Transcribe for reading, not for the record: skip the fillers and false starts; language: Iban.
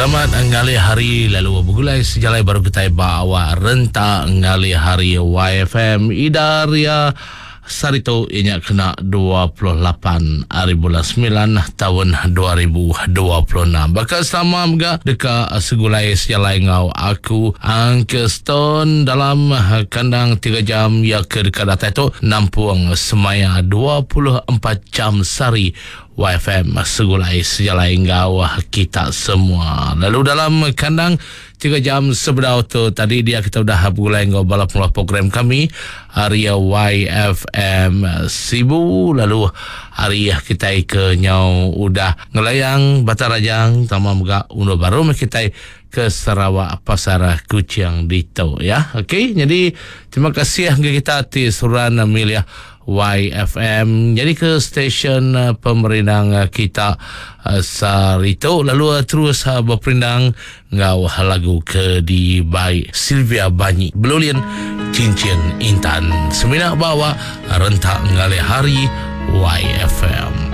Selamat ngalih hari lalu begulai sejalai baru kitai ba awak rentak ngalih hari YFM Ida Ria sehari tu iya nya kena 28 hari bulan semilan taun 2026. Baka selama mega deka segulai sejalai enggau aku Uncle Stone dalam kandang tiga jam iya ke deka datai tu nampung semaya 24 jam sehari YFM segulai sejalai enggau kita semua. Lalu dalam kandang tiga jam sebedau tu tadi dia kita udah begulai enggau bala pengeluar program kami ari YFM Sibu lalu ari kitai ke nyau udah ngelayang Batang Rajang tama mega undur baru meh kitai ke Sarawak Pasar Kuching ditu ya. Okey, jadi terima kasih ngagai kita ti seruran milih YFM nyadi ke stesen pemerindang kita sehari tu lalu terus beperindang enggau lagu ke dibai Sylvia Banyi Belulin Cincin Intan semina ba awak rentak ngalih hari YFM.